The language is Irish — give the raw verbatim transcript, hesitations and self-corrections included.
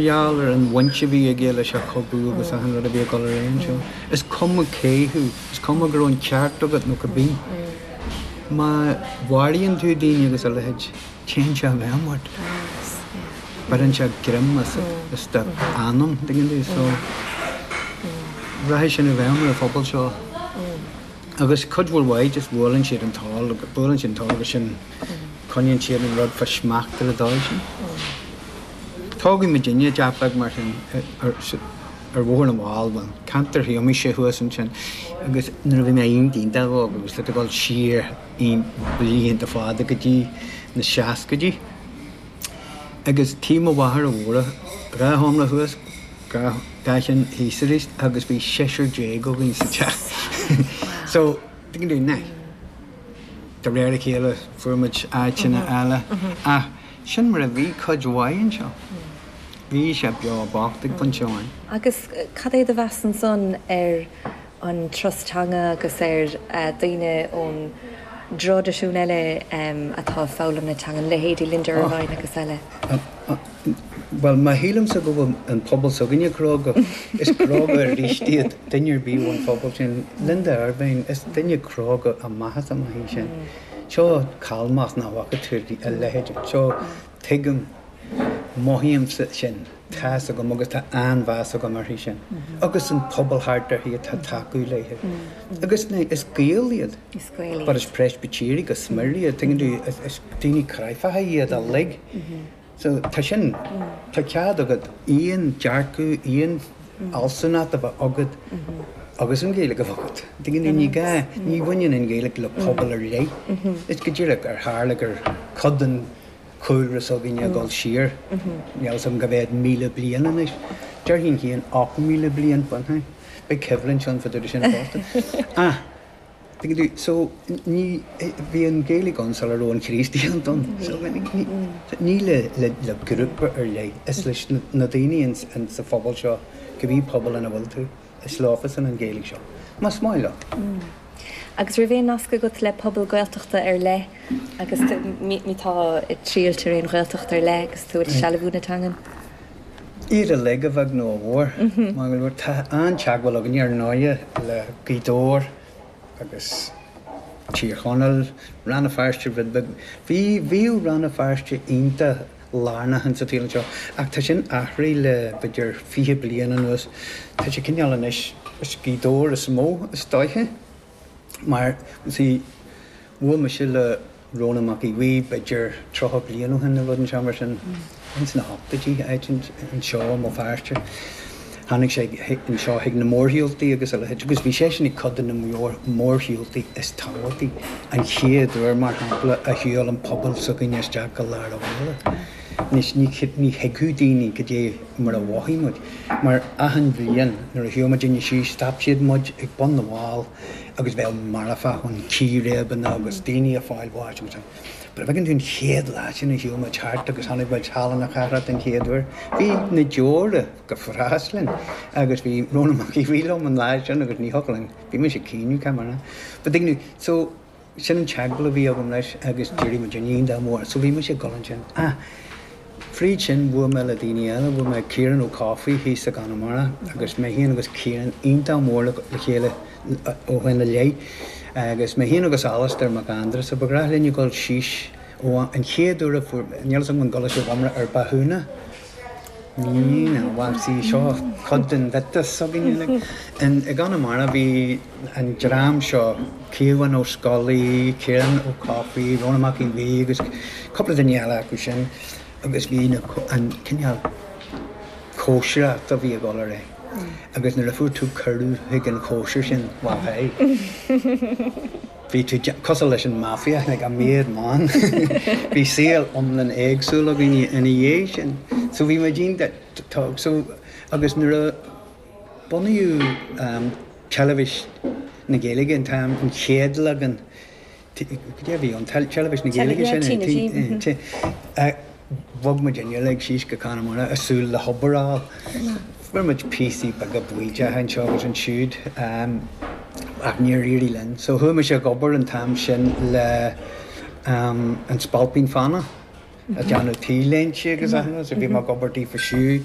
gheall ar an bhaint a bhí aige leis an chogadh agus achan rud a bhí ag dul ar aghaidh anseo. Is cuma cé thú, is cuma go raibh an ceart agat nó cibé. Má mharaíonn tú daoine agus a leithéid, téann sé i bhfeidhm ort. Beireann sé greim as as do anam, tuigeann tú, so rachaidh sin i bhfeidhm ar an phobal seo. Agus cuid mhór mhaith just buaileann siad an t-ól, buaileann siad an t-ól agus sin coinníonn siad an rud fá smacht ar an dóigh sin. Tógadh muidinne i dteach beag mar sin ar ar Bhóthar na bhFál, bhuel, ceantar Shuimise thuas ansin, agus nuair a bhí mé iontach iontach óg agus le dul siar blianta fada go dtí na seascaidí. Agus tí mo mháthara mhóra, dhá sheomra thuas, dhá dhá cheann thíos arís agus bhí seisear déag againn sa teach. So, tuigeann tú, nah, de réir a chéile fuair muid áiteanna eile ach sin mar a bhí cuid mhaith anseo. Bhí sé beo bocht ag pointe amháin. Agus cad é do mheas ansan ar an turas teanga agus ar daoine ón dtraidisiún eile atá ag foghlaim na teanga, leithéidí Linda Ervine agus eile? Bhuel, má shílimse go bhfuil an pobal s'againne cróga, is cróga arís iad duine ar bith ón phobal sin. Linda Ervine, is duine cróga amach is amach í sin. Seo calmacht nach bhfaca tú a leithéid. Seo, tuigim, mothaímse sin, tá's agam agus tá an-mheas agam uirthi sin. Agus an pobal thart uirthi atá ag tacú léi. Agus is Gaeil iad. Is Gaeil iad. But is Preispitéirigh go smior iad, tuigeann tú, is daoine cráifeacha iad uilig. So tá sin, tá cead agat aon dearcadh, aon fhealsúnacht a bheith agat agus an Ghaeilge a bheith agat. Tuigeann tú, ní gá, ní bhaineann an Ghaeilge le pobal ar leith. Is go díreach ar tharla gur cuid den chúlra s'againne ag dul siar, níl a fhios agam cá mhéad míle bliain anois. Déarfainn féin ocht míle bliain, bhuel, beidh coimhlint ann fá dtaobh de sin fosta. Ach, tuigeann tú, so, ní, bhí an Ghaeilge ann sula raibh an Chríostaíocht ann. So, ní le, le, le grúpa ar leith, is leis na daoine in, in sa phobal seo, cibé pobal ina bhfuil tú, is leofasan an Ghaeilge seo. Más maith leo. Agus raibh aon nasc agat le pobal Gaeltachta ar leith agus má tá ag triall ar aon Ghaeltacht ar leith agus tú ag sealbhú na teangan? Iad uilig, a bheag nó a mhór. Mar go leor, tá an-teagmháil againne ar ndóighe le Gaoth Dobhair agus Tír Chonaill, Rann na Feirste rud beag. Bhí, bhíodh Rann na Feirste iontach lárnach insa tsaol anseo ach tá sin athraithe le b'fhéidir fiche bliain anuas. Tá sé cineál anois, is Gaoth Dobhair is mó is dóiche mar, see, bhuail mise le Rónán Mac Aodha Bhuí b'fhéidir tríocha bliain ó shin nó rud inteacht mar sin, ins na hochtóidí, áit anseo i mBéal Feirste. Tháinig sé anseo chuig na mórshiúltaí agus a leithéid agus bhí seisean ag cuid de na mórshiúltaí is tábhachtaí. An chéad uair, mar shampla, a shiúil an pobal s'againne isteach go lár an bhaile. Anois, ní thuigfeadh daoine cad é mar a mhothaigh muid, mar achan bhliain nuair a shiúil muidinne síos, stop siad muid ag bun na bhfál agus bheadh marfach ann, círéibeanna agus daoine ag fáil bháis agus But an bhfeiceann tú an chéad lá sin a shiúil muid thart agus chonaic muid Halla na Cathrach den chéad uair, bhí na deora go fras linn agus bhí Rónán Mac Aodha Bhuí liom an lá sin agus ní thiocfadh linn, bhí mise ag caoineadh, cá mar But tuigeann tú, so sin an teagmháil a bhí agam leis agus d'éirigh muid iontach mór, so bhí mise ag dul ansin. Ah, fríd sin bhuail mé le daoine eile, bhuail mé Ciarán Ó Cofaigh thíos i gConamara agus mé féin agus Ciarán iontach mór le chéile ó shin i leith agus mé féin agus Alastair Mac Aindreasa, ba ghnách linn ag dul síos ó an chéad uair a fuair, níl 'fhios agam an gcuala sibh iomrá ar Botúna? Ní, ná, bhuel, see, seo cuid den mhiotas s'againne, like. In, i gConamara bhí an dream seo, Caomhán Ó Scolaí, Ciarán Ó Cofaigh, Rónán Mac Aodha Bhuí agus cúpla duine eile acu sin agus bhí na, an cineál cóisireacht a bhí ag dul ar aghaidh agus nuair a fuair tú cuireadh chuig an chóisir sin, well, hey, bhí tú cosúil leis an mafia, like a made man. Bhí saol iomlán éagsúil againn ina dhiaidh sin. So bhí muid iontach, so agus nuair a bunaíodh um, teilifís na Gaeilge an t-am, an chéad leagan, cad é a bhí ann, teilifís na Gaeilge sin, bhog muid uilig síos go Conamara ag súil le hobair a fháil. Fuair muid píosaí beaga baoideacha anseo agus ansiúd ach níor éirigh linn. So chuaigh mise ag obair an t-am sin le An Spailpín Fánach. ag déanamh T-léinte agus mm -hmm. bhí mé ag obair daofa siúd